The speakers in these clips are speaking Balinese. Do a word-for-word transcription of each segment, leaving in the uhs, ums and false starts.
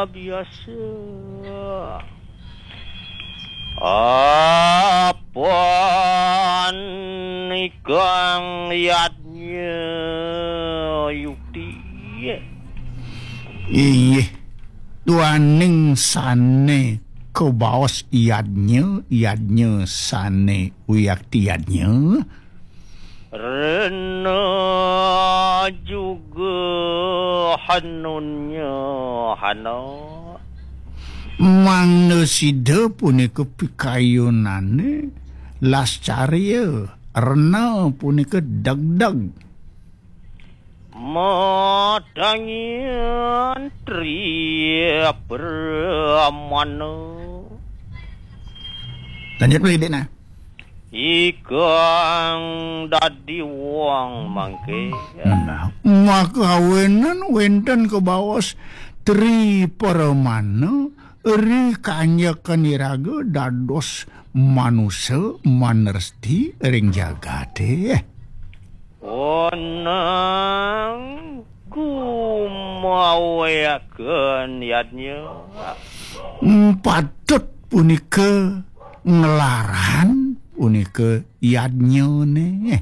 biasa. Apan ikang yadnya yukti. Inggih, duaning sane kabaos yadnya, yadnya sane wiakti yadnya. Rena juga hanunnya hana. Mangda sida punika pikayunane lascarya, rena punika degdeg. Madangian tri pramana. Lanjut, Pak Idikna. Ikang dadi wong mangke. Nah, maka awinan wenten kabaos tri pramana ri kanjekan iraga dados manusa manersti ring jagate. Onang gumawaken yadnya. Patut punika nglarang punika yadnyane.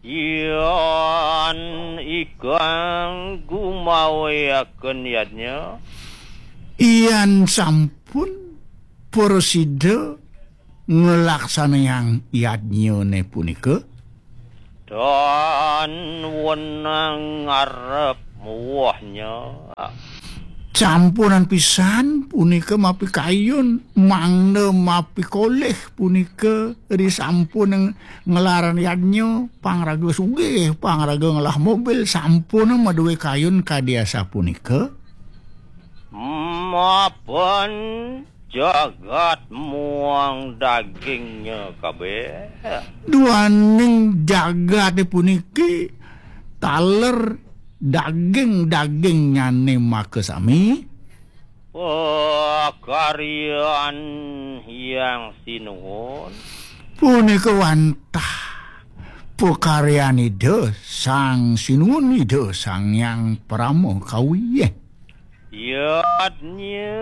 Yan ikang gumawaken yadnya. Yan sampun prasida nglaksanayang yadnyane punika. Tan wenang ngarep muwahnya. Sampunan pisan punika mapikayun, mangda mapikolih punika ri sampun nglarang yadnya, pangraga sugih, pangraga ngelah mobil, sampun maduwe kayun kadi asapunika. Mapan jagat muang dagingnya kabeh. Duaning jagate puniki taler daging-dagingnyane makasami. Pakaryan Hyang Sinuhun. Punika wantah pakaryan Ida Sang Sinuhun, Ida Sang Hyang Parama Kawi. Yadnya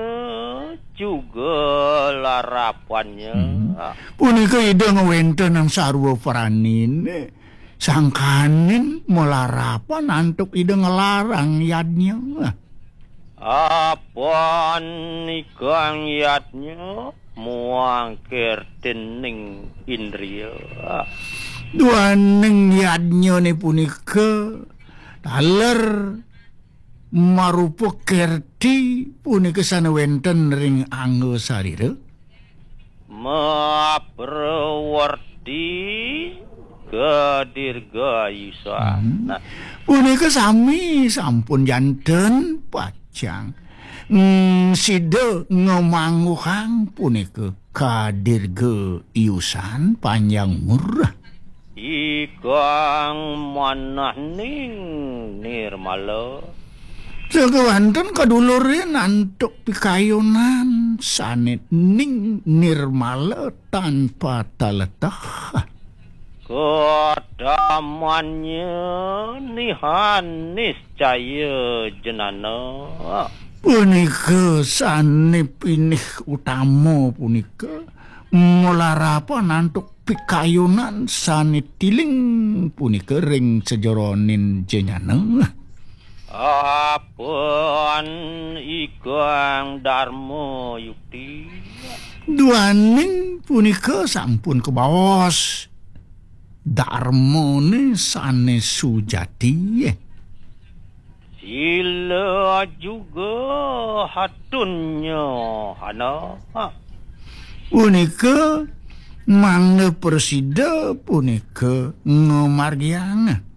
juga larapannya. Hmm. Punika Ida ngwentenang sarwa pranine, sangkaning malarapan antuk Ida nglarang yadnya. Apan ikang yadnya muang kertining indria. Duaning yadnyane punika taler marupa kerti punika sane wenten ring angga sarira. Maprawerti kadirgayusan. Hmm. Nah. Punika sami sampun janten pacang. Hmm, sida ngamangguhang punika kadirgayusan panjang umur. Ikang manahning nirmala. Sakewanten kadulurin antuk pikayunan sane ning nirmala tanpa taletah. Kadamannya nihan niscaya jenana. Punika sane pinih utama punika malarapan antuk pikayunan sane tiling punika ring sajeroning jenana. Apan ikang darma yukti. Duaning punika sampun kabaos darmane sane sujati. Sila juga hatunnya hana. Punika mangda prasida punika ngamargiang.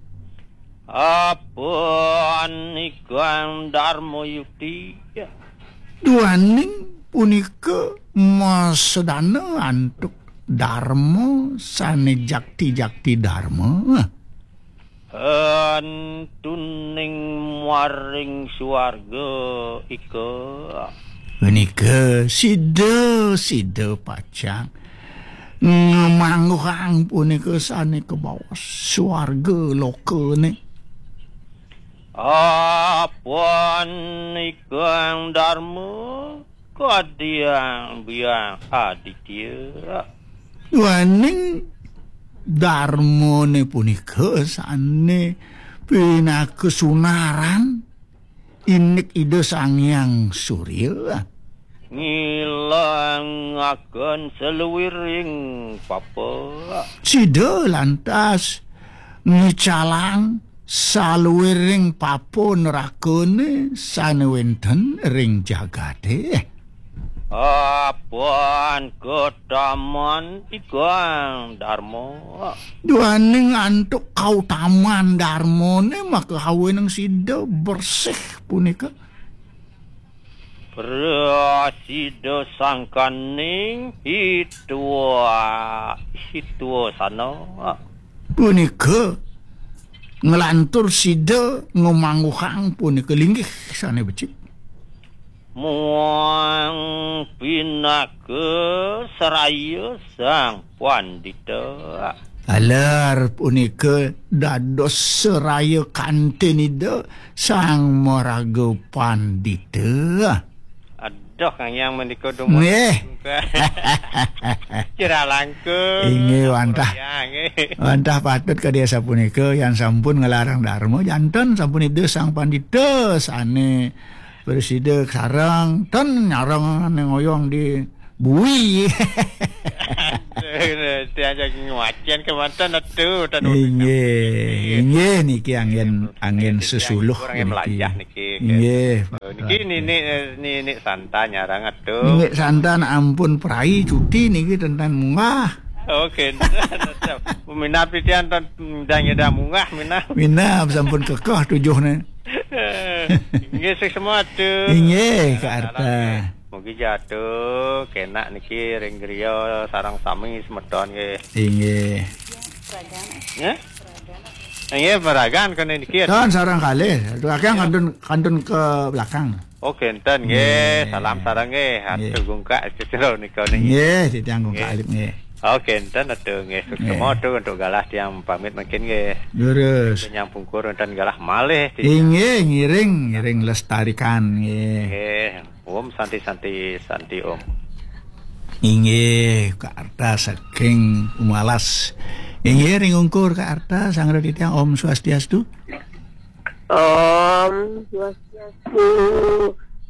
Apan ikang darma yukti. Duaning punika masedana antuk darma sane jakti-jakti darma. Antuning maring suarga ika. Punika sida-sida pacang ngamangguhang punika sane kabaos suarga lokane. Apan ikang Darma kadiang biang Aditya. Duaning Darmane punika sane pinaka sunaran indik Ida Sang Hyang Surya. Ngilangaken saluiring papa. Sida lantas ngicalang saluiring papa nerakane sane wenten ring jagate. Apan kataman ikang Darma. Duaning antuk kautaman Darmane maka aweneng sida bersih punika. Prasida sangkaning hitwa, hitwa sana. Punika nglantur sida ngamangguhang punika linggih sane becik. Muang pinaka seraya Sang Pandita. Taler punika dados seraya kantin Ida Sang Maraga Pandita. Aduh, Kang Hyang menika dumun. Nggih. Cira langkung. Inggih, wantah. Ya, nggih. Wantah patut kadi asapunika, yan sampun nglarang Darma, janten sampun Ida Sang Pandita sane prasida sareng, ten nyareng ane ngoyong di bui. Tiang jagi ngwacen kemanten atu, ten. Inggih, inggih niki anggen, anggen sesuluh kurang niki. Belajar niki. Inggih. Niki nini, nini Santa nyarang atu. Nini Santa ampun prai cuti niki tenten munggah. Oke. Minab titian ten ndang nyeda munggah minab. Minab sampun kekeh tujuhne. Inggih, sih semua atu. Inggih, Kak Arta. Mugi jatuh kenak niki ring griya sareng sami semeton nggih. Inggih. Ya? Inggih, meragan kene niki. Tan sareng kalih. Aduh, akeh kantun, kantun ke belakang. Oh, kenten nggih. Nggih. Salam sareng nggih. Nggih. Atuh gungkak cetro nika niki. Nggih, titiang gungkak nggih. Alip nggih. Oh, kenten atuh nggih. Nggih. Suksema atuh untuk galah tiang pamit mungkin nggih. Lurus. Nyang pungkur wonten galah malih titiang. Inggih, ngiring, ngiring lestarikan nggih. Nggih. Om Santi, Santi, Santi Om. Inggih, Kak Arta saking Umalas. Inggih, ring ungkur Kak Arta, sangra titiang Om Swastiastu. Om Swastiastu.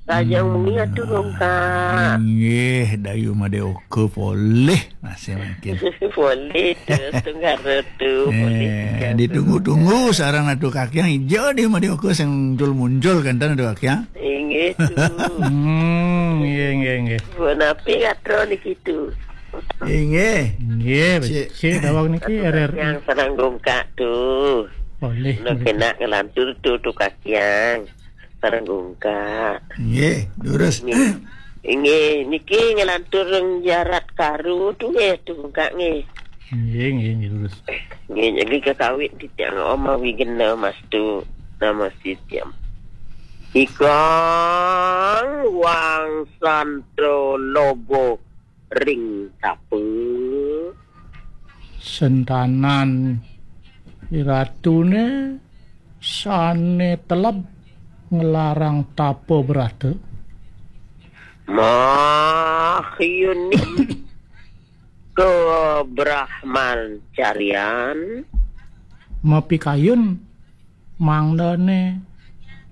Kajang mungi atuh dong, Kak. Inggih, Dayu Madeoka polih masih mungkin. Polih terus tunggal tu, polih. Eh, ditunggu-tunggu sareng atuh kakiang ija di Madeoka sing muncul-muncul kenten atuh kakiang. Inggih tu. Hmm, inggih, inggih, inggih. Punapi katro niki tu. Inggih. Inggih, cik, cik dawang niki. Atuh R R I. Kakiang sareng gungkak tu. Polih. Nak kena ngelantur tu, tu kakiang. Sareng gungkak. Nggih, durus. Nggih. Inggih, niki ngelantur ring jarat karu tu nggih, tu gungkak nggih. Nggih, nggih, nggih, durus. Nggih, niki kakawit titiang Om Awigena Mastu. Nama sitiam. Ikang wangsanto logo ring tapa. Sentanan iratune sane teleb nglarang tapa brata. Mahyuni kebrahmacarian. Mapikayun mangdane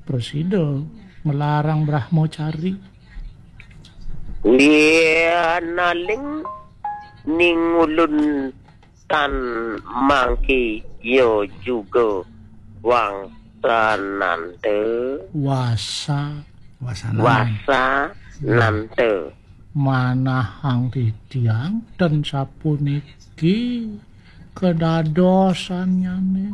prasida nglarang brahmacari. Yanaling ningulun tan mangki ya juga wangsananta. Wasa. Wasananta. Wasananta. Manahang titiang ten sapuniki kadadosanyane.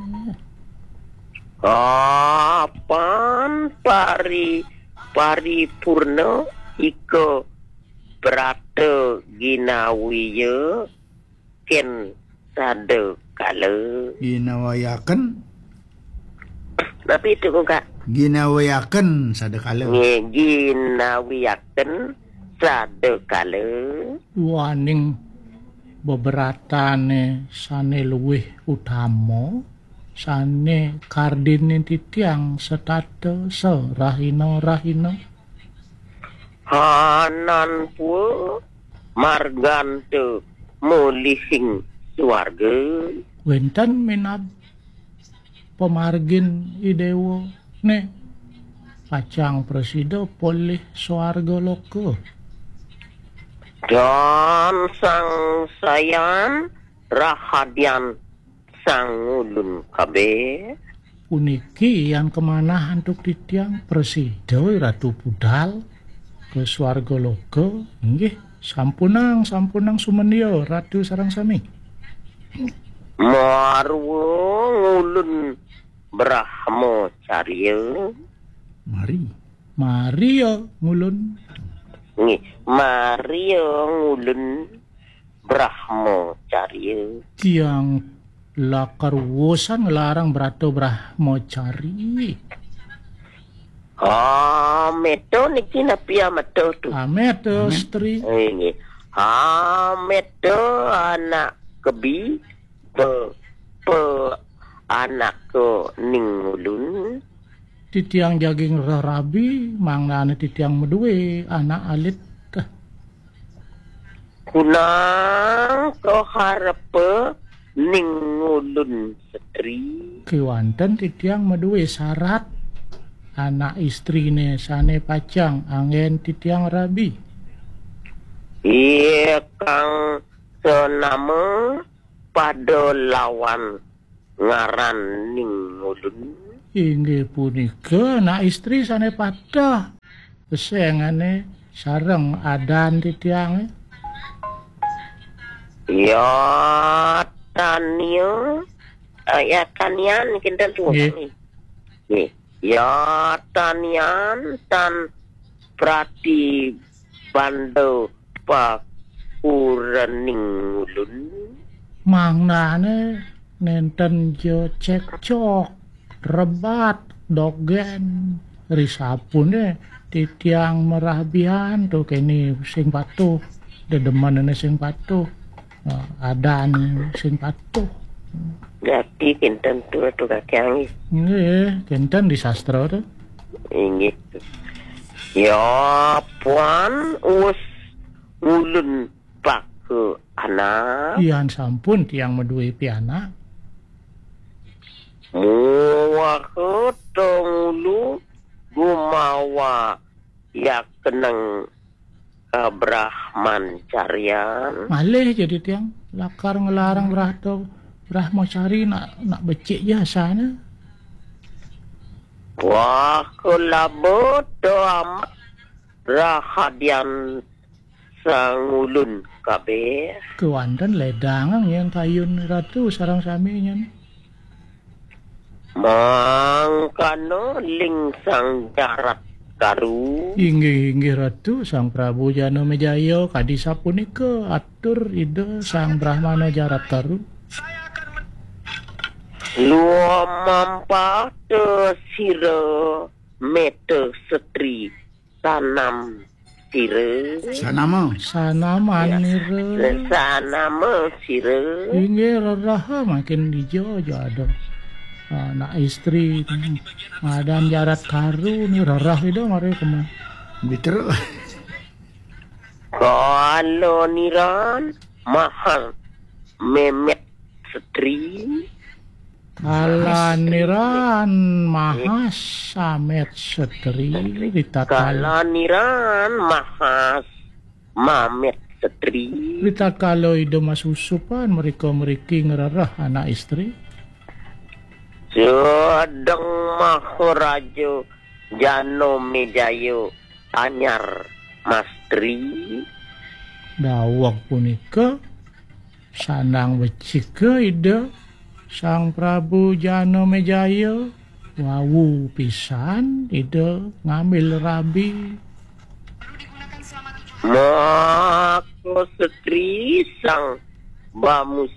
Apan pari, paripurna ika brata ginawiya ken sada kala. Ginawayaken. Napi itu, Kak? Ginawayaken sada kala. Nggih, ginawiyaken sada kala. Waning beberatane sane luwih utama sane kardinin titiang setata serahina-rahina. Hanan pua marganta mulihing suarga. Wenten minab pamargin i dewa ne pacang prasida polih suarga loka. Dan sang sayan rahadian sang ngulun kabeh. Puniki yan kamanah antuk titiang prasida Ratu Budal ke suarga loka. Inggih, sampunang, sampunang sumendia Ratu sareng sami. Marwa ngulun Brahma Carya. Mari. Maria ngulun. Nggih, Maria ngulun Brahma Carya. Tiang lakar wusan nglarang brata Brahma Cari. Ah, meta niki napi ameta tu? Amet, eh, Amet. Stri. Eh, nggih. Ameta anak kebi pe, pe anak ke ning ulun. Titiang jagi ngrereh rabi, mangdane titiang madue anak alit. Kunang kaharepa ning ulun setri. Kewanten titiang madue sarat anak istrine sane pacang anggen titiang rabi. Iya kang senama pada lawan ngaran ning ulun. Inggih punika anak istri sane pateh. Pesengane sareng adan titiange. Ya tania, eh, ya tanian kinten tuan. Nggih. Nggih. Ya tanian tan prati banda pakuraning ulun. Mangdane nenten ja cekcok, rebat, dogen, risapune titiang merabian tu kene sing patuh, dedemenene sing patuh, eh, adan sing patuh. Jati kinten tu tu kakiangi. Nggih, kinten di sastra tu. Inggih. Ya puan us ulun paka anak. Yan sampun tiang madue pianak. Muwaha tongulu gumawa yakeneng kabrahman carian. Malih jadi tiang lakar ngelarang brahto Brahmacari nak nak becik jasane. Wah, kelaba to amat rahadian sangulun kabeh. Kewanten ledang yang kayun ratu sarang sami nyen. Mangkana ling sang jarat karu. Inggih, inggih ratu, sang Prabu Jana Mejaya kadi sapunika atur ida sang Brahmana jarat karu. Luamampata sira meta setri sanam sira. Sanama. Sanaman. Ya. Nira. Sanama sira. Inggih rerah makin dija aja ada. Anak istri madan jarat karu ni rerah ida mari kema. Biter. Kala niran mahal memet setri. Kalaniran mahas samet setri ritatkala. Kalaniran mahas mamet setri. Ritatkala ida masusupan mereka meriki ngerereh anak istri. Sedeng Maharaja Jana Mejaya anyar mastri. Daweg punika sandang becika ida Sang Prabu Jana Mejaya wau pisan ida ngambil rabi. Maka setri sang bamus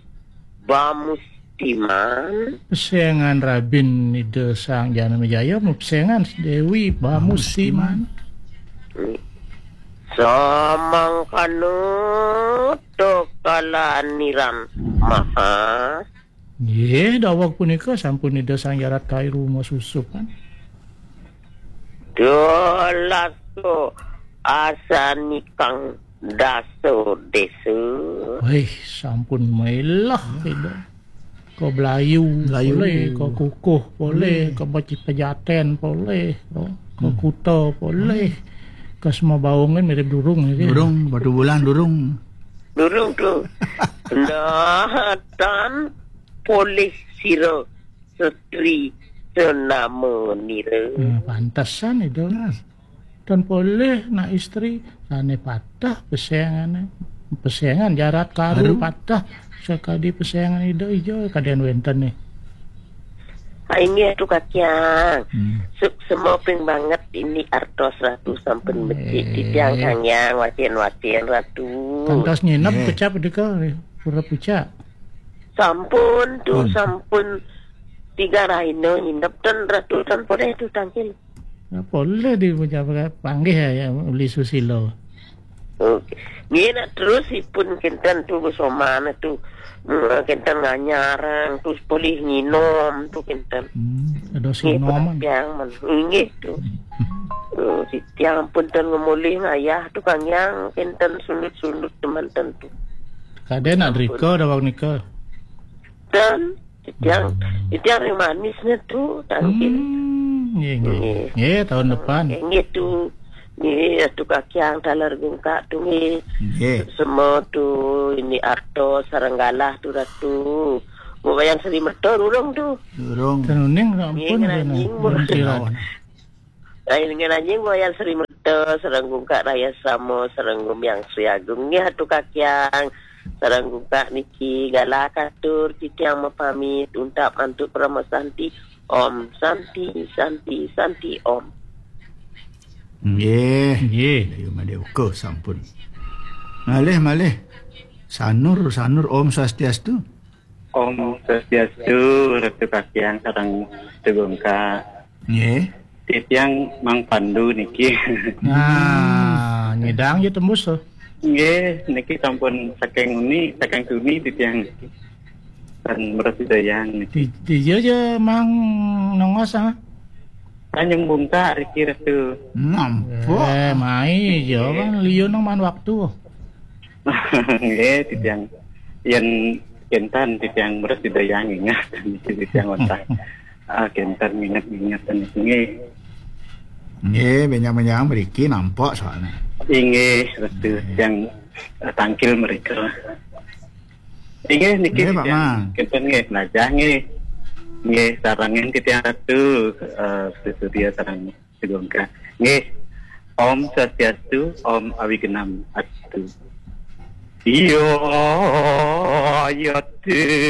bamustiman. Pesengan rabin ida Sang Jana Mejaya pesengan Dewi Bamustiman. Samangkana to kalaniran mahas. Nggih, daweg punika sampun Ida Sang Jarat Kairu masusup, kan? Dolasko asan ikang dasa desa. Wih, sampun melah, Ida. Ka Blayu, Blayu. Polih, ka Kukuh, polih, hmm, ka Beci-, Pejaten, polih, ka, ka, hmm, Kuta, polih. Ka Semabaung kan mirip Durung, ya, kan? Durung, Batu Bulan, Durung. Durung tu. Nah, tan polih sira setri senama nira. Nah, pantesan itu. Nah. Dan polih nak istri, sane patah pesengane. Pesengan Jarat Kairu. Kairu. Patah sakadi pesengan Ida Ija kaden wenten nih. Ha, inggih tu Kakyang. Hmm. Suksma ping banget ini artos Ratu sampun becik. Eh. Titiang kangyang wacin-wacin Ratu. Kantos nginep, eh, kecap deka pura pucak. Sampun tu, hmm, sampun tiga rahina nginep ten Ratu ten polih tu tangkil. Ya, polih di pucak panggih ya, ya, uli susila. Okey. Nggih, nak terus ipun kinten tu besoman tu. Hmm, kinten nganyarang tu polih nginom tu kinten. Hmm, ada nggih, sinom. Yang men-, nggih tu. Hmm. Oh, si tiang pun ten ngemulih ngayah tu kangyang kinten sundut-sundut teman tentu. Kade nak derika daweg nika. Dan Titiang, hmm, titiang ring manisnya tu, tangkin. Hmm, nggih, nggih. Nggih. Nggih, tahun depan. Nggih, nggih tu. Nggih, tu kakyang taler gungkak tu, nggih. Nggih. Semua tu, ini arto sarang galah tu, Ratu. Mau bayang Sri Merta, durung tu. Durung. Tenuning, nggih, ampun, ngeranying, kena. Belum tiada. Ai, ngeranjing wayang Sri Merta, sareng gungkak raya sama, sareng gumyang Sri Agung. Nggih, Atu Kakyang, sareng gungkak niki, galah katur, titiang mapamit, untak mantuk parama santi. Om Santi, Santi, Santi, Om. Nggih. Nggih. Ayu Madé Uka sampun. Malih, malih. Sanur, Sanur, Om Swastiastu. Om Swastiastu, Ratu Kakyang sareng Ratu Gungkak. Nggih. Titiang Mang Pandu niki. Nah, nyidang ya tembus tuh. Nggih, niki sampun saking uni, saking tuni titiang. Dan Meres Dayang niki. Di, di, ya, ya, Mang Nongos, ah. Tanjung Bungkak, Riki Ratu. Nampak. Eh, mai, ya, kan, liu nang man waktu. Nggih, titiang yen kinten titiang Meres Dayang ingat, titiang wantah. Ah, kinten ingat-ingat nggih. Nggih, benjang-benjang mriki nampak soalnya. Inggih, Ratu, nggih, yang, eh, tangkil mereka. Inggih, niki nggih, Pak titiang Man. Kinten nggih, penajah nggih. Nggih, sarengin titiang Ratu, eh, sesudia sareng Segungkah. Nggih. Om Swastiastu, Om Awigenam Astu. Iya, iya,